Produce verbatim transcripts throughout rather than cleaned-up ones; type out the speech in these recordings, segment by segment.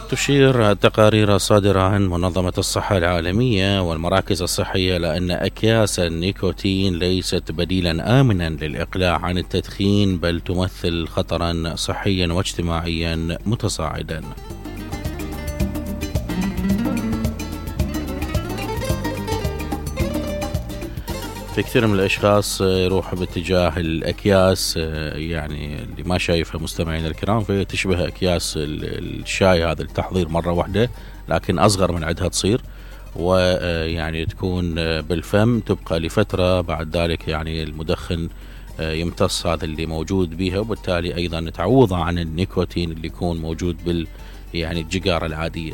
تشير التقارير الصادرة عن منظمة الصحة العالمية والمراكز الصحية لأن أكياس النيكوتين ليست بديلا آمنا للإقلاع عن التدخين، بل تمثل خطرا صحيا واجتماعيا متصاعدا. في كثير من الأشخاص يروح باتجاه الأكياس يعني اللي ما شايفها مستمعين الكرام، فهي تشبه أكياس الشاي هذا التحضير مرة واحدة لكن أصغر من عدها تصير، ويعني تكون بالفم تبقى لفترة، بعد ذلك يعني المدخن يمتص هذا اللي موجود بها، وبالتالي أيضا تعوض عن النيكوتين اللي يكون موجود بال يعني الجيجارة العادية.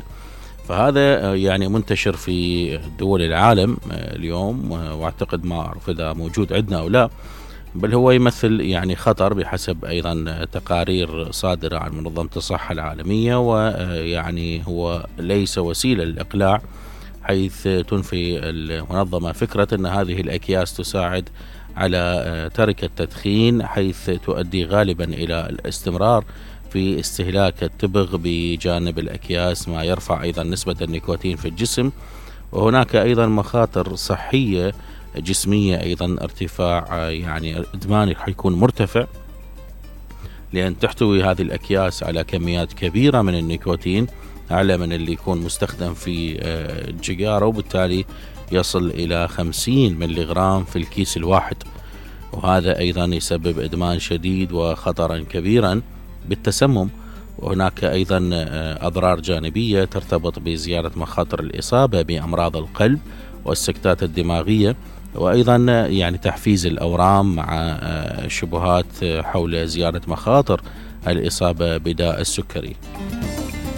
فهذا يعني منتشر في دول العالم اليوم، واعتقد ما اعرف اذا موجود عندنا او لا، بل هو يمثل يعني خطر بحسب ايضا تقارير صادرة عن منظمة الصحة العالمية، ويعني هو ليس وسيلة للإقلاع، حيث تنفي المنظمة فكرة ان هذه الأكياس تساعد على ترك التدخين، حيث تؤدي غالبا الى الاستمرار في استهلاك التبغ بجانب الأكياس، ما يرفع أيضا نسبة النيكوتين في الجسم. وهناك أيضا مخاطر صحية جسمية، أيضا ارتفاع يعني إدمان حيكون مرتفع، لأن تحتوي هذه الأكياس على كميات كبيرة من النيكوتين، أعلى من اللي يكون مستخدم في الجيجارة، وبالتالي يصل إلى خمسين ملغرام في الكيس الواحد، وهذا أيضا يسبب إدمان شديد وخطرا كبيرا بالتسمم. وهناك أيضا أضرار جانبية ترتبط بزيادة مخاطر الإصابة بأمراض القلب والسكتات الدماغية، وأيضا يعني تحفيز الأورام، مع شبهات حول زيادة مخاطر الإصابة بداء السكري.